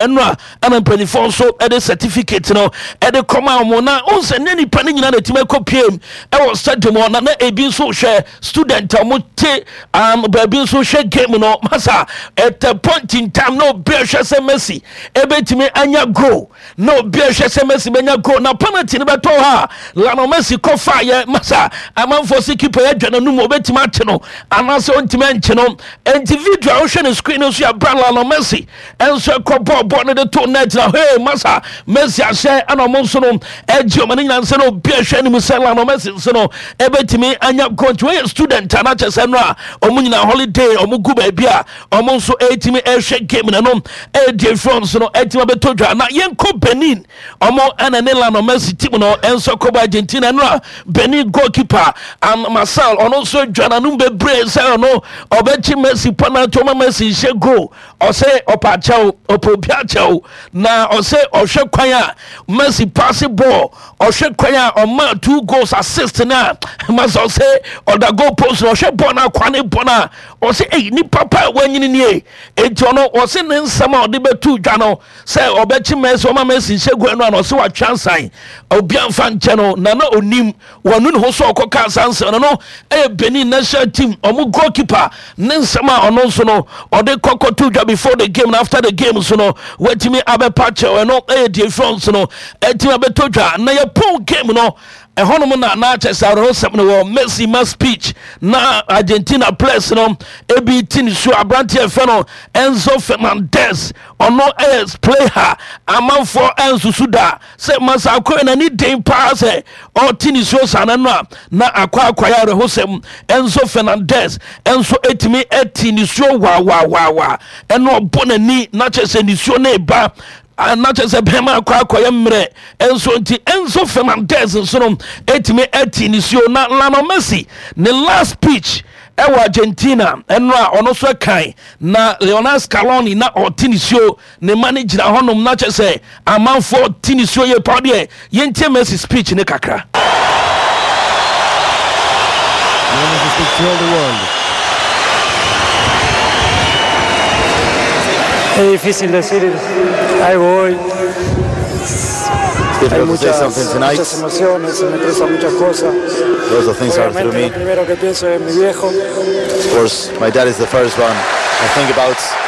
Ɛno a ɛna mpanimfoɔ nso de certificate no de kɔma wɔn na wɔn sɛ ne nipa no nyinaa na ɛtumi akɔ piem ɛwɔ stadium hɔ na na ebi nso hwɛ student a wɔn te um, baabi nso hwɛ game no masa at a point in time na obi ahwɛ sɛ Messi ebetumi anya goal na obi ahwɛ sɛ Messi benya goal na penalty no bɛtɔ hɔ a Lionel Messi kɔfa yɛ masa amanfoɔ si keeper yɛ adwa n'anum obetumi akye no anaasɛ ɔntumi ankye no nti video a wohwɛ ne screen no so yɛ abira Lionel Messi nso ɛkɔ bɔɔl bɔɔl no de to net na hey masa Messi ahyɛ ɛna ɔmo nso no ɛgye ɔmo ne nyinaa nsɛ na obi ɛhwɛ anim sɛ Lionel Messi nso no ɛbɛtumi anya goal nti wɔyɛ student a n'akyɛ sɛ no a ɔmo nyinaa holiday ɔmo gu baabi a ɔmo nso ɛtumi ɛhwɛ game na no ɛdi efiri nso no ɛtumi abɛtɔ dwa na yɛnkɔ Benin ɔmo ɛna ne Lionel Messi team no ɛnso kɔbɔ Argentina no a Benin goalkeeper and Marcel ɔno nso adwa n'anum bebree sɛ ɔno ɔbɛkye Messi penalty ɔma Messi nhyɛ goal Ɔse ɔpɛ akyɛw, ɔpɛ obi akyɛw, na ɔse ɔhwɛ kwan a Messi paase bɔɔl, ɔhwɛ kwan a ɔma two goals assist na masa ɔse ɔda goal post na ɔhwɛ bɔɔl na akwa ne bɔ na ɔse ei nipa pa a wanyini nie. Enti ɔno ɔse ne nsɛm a ɔde bɛto dwa no sɛ ɔbɛkye Messi ɔma Messi nhyɛ goal no a na ɔse watwe ansan obi amfa nkyɛ no na na onim Wanu ne ho sɛ ɔkɔkaa saa nsɛm no no yɛ Benin national team ɔmo goalkeeper ne nsɛm a ɔno nso no ɔde kɔkɔto dwa before the game na after the game nso no watumi abɛpa kyɛw ɛno yɛ deɛ efiri nso no atumi abɛtɔ dwa na yɛpɔn game no ɛhɔnom na na kyɛ sɛ awerɛhosɛm no wɔ Messi ma speech na Argentina players no ebi ti ne su aberanteɛ fɛ no Enzo Fernandez ɔno yɛ player amanfoɔ ɛnsusu da Sɛ Masako n'ani den paa sɛ ɔte nisuo saa no a, na akɔ akɔyɛ awerɛhosɛm. Enzo Fernandez nso etumi te nisuo waawaawaawaa ɛna ɔbɔ n'ani na kyerɛ sɛ nisuo no reba na kyerɛ sɛ bɛrima akɔ akɔyɛ mmerɛ nso nti Enzo Fernandez nso no etumi te nisuo na Lionel Messi ne last speech ɛwɔ Argentina ɛno a ɔno nso kan na Lionel Scaloni na ɔte nisuo Ne mma no gyina hɔnom na kyerɛ sɛ amanfoɔ te nisuo yie paa deɛ yɛntie Mercy speech no kakra. Lionel speak to all the world. Es difícil decir algo hoy. It's Hay difficult to say muchas, something tonight. muchas emociones, se me cruzan muchas cosas. Lots of things are through Obviamente me. lo primero que pienso es mi viejo. Of course, my dad is the first one I think about.